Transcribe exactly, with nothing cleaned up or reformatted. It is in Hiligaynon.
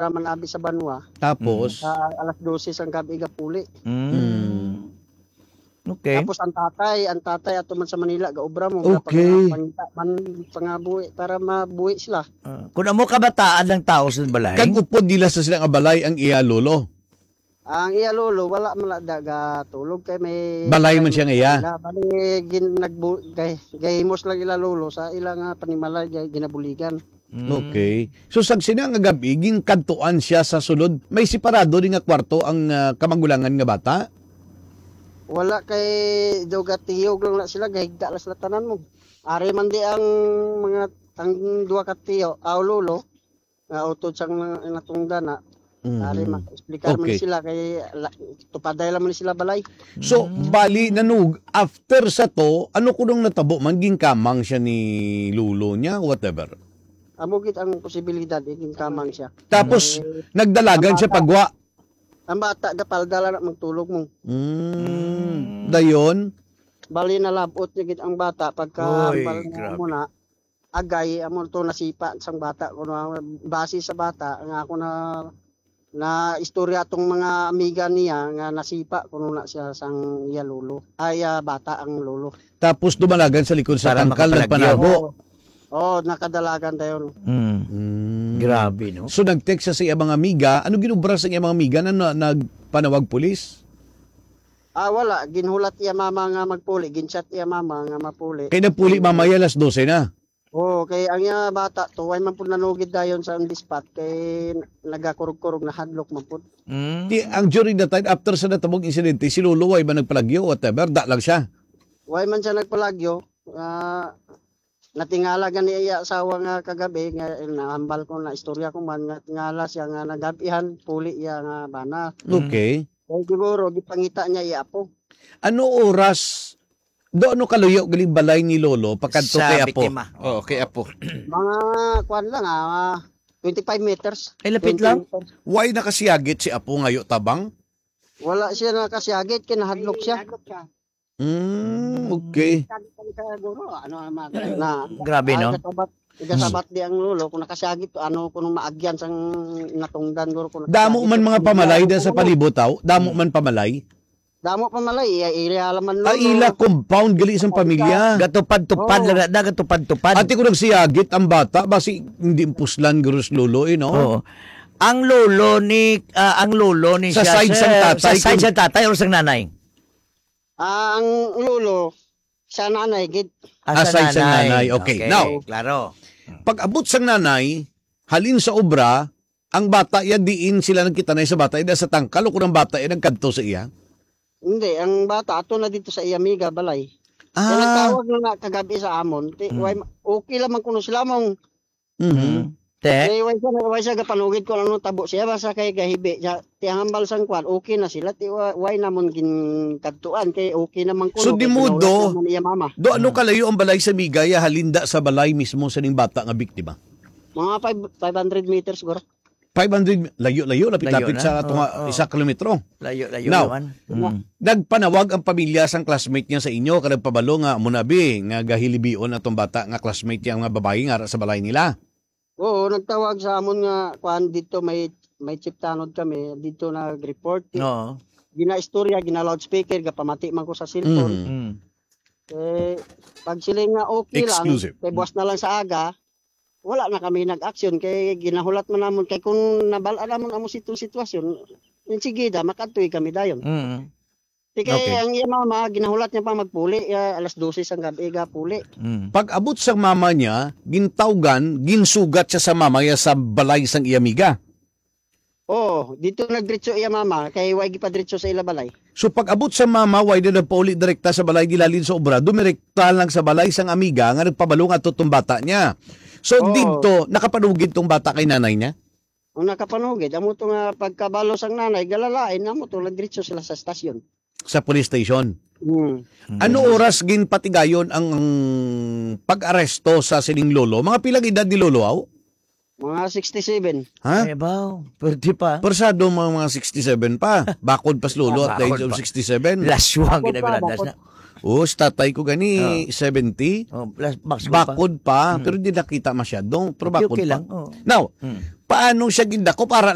manabi sa banwa. Tapos? Mm. Sa alas dose sang gabi gapuli. Mm. Mm. Okay. Tapos ang tatay, ang tatay ato man sa Manila, gaobra mo, Okay. gapangita man pangabuhi para mabuhi sila. Ah, kung amo kabataan ng tao sa balay? Kag upod nila sa sila nga balay ang iya lolo? Ang iya lolo, wala man la da gatulog kay may Balay man siya nga iya? Bali, gin-, nagbu-, gay-, gahimos lang ila lolo sa ila nga panimalay, gay-, ginabuligan. Mm. Okay. So, sa sina nga gabi, ginkadtuan siya sa sulod. May separado rin nga kwarto ang, ah, kamagulangan nga bata? Wala kay do gatiyog lang na sila, gahigda lang sila tanan mo. Ari man di ang mga, ang duha ka tiyo, aw lolo, nga utod sang natungdan na. Mhm. Ari, ma-, explicar man Okay. sila kay la-, tupaday lang man sila balay. So, Mm. bali, nanug-, after sa to, ano kunong natabo man, ginkamang siya ni lolo niya, whatever? Amo gid ang posibilidad, eh, ginkamang siya. Tapos, Eh, nagdalagan ang siya bata, pagwa? ang bata, gapalda lang na magtulog mo. Mm. Mm. Dayon? Bali, nalabot niya gid ang bata pagka Oy, hambal niya grabe. mo na, agay, amo to nasipa sang bata. Kuno, base sa bata, nga ako na, na istorya tong mga amiga niya nga nasipa kuno na siya sang iya lolo. Ay, ah, bata ang lolo. Tapos dumalagan sa likod sa Para tangkal, makapalagyo. nagpanago. Oo. Oo, nakadalagan dayon. Mm. Mm. Grabe, no? So, nag-text siya sa iya mga amiga. Ano ginubra sa iya mga amiga na, na nagpanawag pulis? Ah, wala. Ginhulat iya mama nga magpuli. Ginchat iya mama nga mapuli. Kay nagpuli mamaya alas dose na. Oo, kay ang iya bata to, way man pud nanugid dayon sa on the spot, kay nagakurog-kurog, nahadlok man pud. Mm. Di, ang during that time, after sa natabog insidente, si Lolo way ba nagpalagyo, whatever, da lang siya? Way man siya nagpalagyo. Ah, natingala gani iya asawa nga kagabi, nga nahambal ko, na istorya ko man, nga tingala siya nga nagabihan, puli iya nga bana. Mm. Okay. Kay siguro, gipangita niya iya apo. Ano oras, do ano kaluyo gali balay ni Lolo, pakadto Sa kay apo? biktima. Oo, kay apo. Mga, kuwan lang, ah, twenty-five meters. Ay, lapit Twenty lang. meters. Why nakasiyagit si apo ngayo tabang? Wala siya nakasiyagit, kinahadlok siya. Hadlok siya. Mm, okay. Sabi ko sa guro, ano ang mga Na, Grabe, ay, no? kasabat, kasabat di ang lolo, kung nakasiyagit, ano, kung maagyan sang natungdan, guro, kung Damo nakasiyagit man ang mga pamilya, pamalay ano, da sa ano. palibot, aw? Damo Hmm. man pamalay? Damo pamalay, iya, iya, alaman, Ah, lolo. ila compound gali sang Ay, pamilya. Gatupad-tupad Oo. lang na, gatupad-tupad. Ate, kung nagsiyagit ang bata, basi hindi puslan, guro, si lolo, eh, no? Oo. Ang lolo ni, ah, ang lolo ni Sa siya, side sang sir, tatay, sa side kung sang tatay o sang nanay? Ah, ang lolo, sa nanay gid. Ah, Ah, sa side sa nanay. nanay. Okay. Okay, Now, klaro. Pag-abot sang nanay, halin sa obra, ang bata ya diin sila nagkitanay sa bata, ida sa tangkal o kung ang bata ya nagkadto sa iya? Hindi, ang bata ato na dito sa iya amiga balay. Kaya Ah. nagtawag na nga kagabi sa amon, ti, Hmm. way ma-, okay lamang kuno sila mong Mhm. Mm. Te? Kay way siya, way siya gapanugid kung ano tabo siya, basta kay gahibi siya. Ti ang hambal sang kwan, okay na sila. Ti wa-, way namon ginkadtuan, kay okay naman kuno, So, kay di mo ginaulak do, naman iya mama. do ano Mm. kalayo ang balay sa Migaya, halinda sa balay mismo sa ning bata nga biktima? Mga five, five hundred meters, siguro. Five hundred, layo-layo, lapit-lapit Layo na. sa ato nga Oo, oo. isa kilometro. Layo-layo Now, naman. Mm. nagpanawag ang pamilya sang classmate niya sa inyo, kag nagpabalo nga, "Amo na, bi, nga gahilibion atong bata nga classmate niya nga babayi nga ara sa balay nila." Oo, nagtawag sa amon nga, kuan, dito may, may chief tanod kami, dito nag-report. Oo. Ginaistorya, gina-loudspeaker, gapamati man ko sa cellphone. Mm. Mm. Eh, pag sila nga okay lang, Exclusive. kay buwas na lang sa aga, wala na kami nag-action, kay ginahulat man namon, kay kung nabal-an namon amo sitong sitwasyon, insigida, makadtuy kami dayon. Mm. Di kay Okay. ang iya mama, ginahulat niya pa magpuli, ah, alas dose sang gabi, gapuli. Mm. Pag-abot sa mama niya, gintawgan, ginsugat siya sa mama niya sa balay sang iya amiga. Oo, dito nagdiretso iya mama, kay way gipadiretso sa ila balay. So, pag-abot sa mama, way na nagpauli direkta sa balay nila halin sa obra, dumirekta lang sa balay sang amiga nga nagpabalo nga ato tong bata niya. So, Oo. dito, nakapanugid tong bata kay nanay niya? Ang nakapanugid, amo to nga pagkabalo sang nanay, galalain, amo to, nagdiretso sila sa stasyon. Sa police station. Mm. Ano Mm. oras ginpatigayon ang, ang pag-aresto sa sining lolo? Mga pilang edad ni lolo, aw? Mga sixty-seven. Ha? Ay, baw. Pwede pa. Persado mga, mga sixty-seven pa. Bakod pa si lolo at the age Bakod of pa. sixty-seven. Laswang Bakod pa, ginabilandas bakod. na. Oh, si tatay ko gani, Oh. seventy. Oh, plus, bakod pa. Bakod pa, Mm. pero di nakita masyado. Pero Okay, bakod okay pa. lang. Oh. Now, Mm. Paano siya gindakop? Ara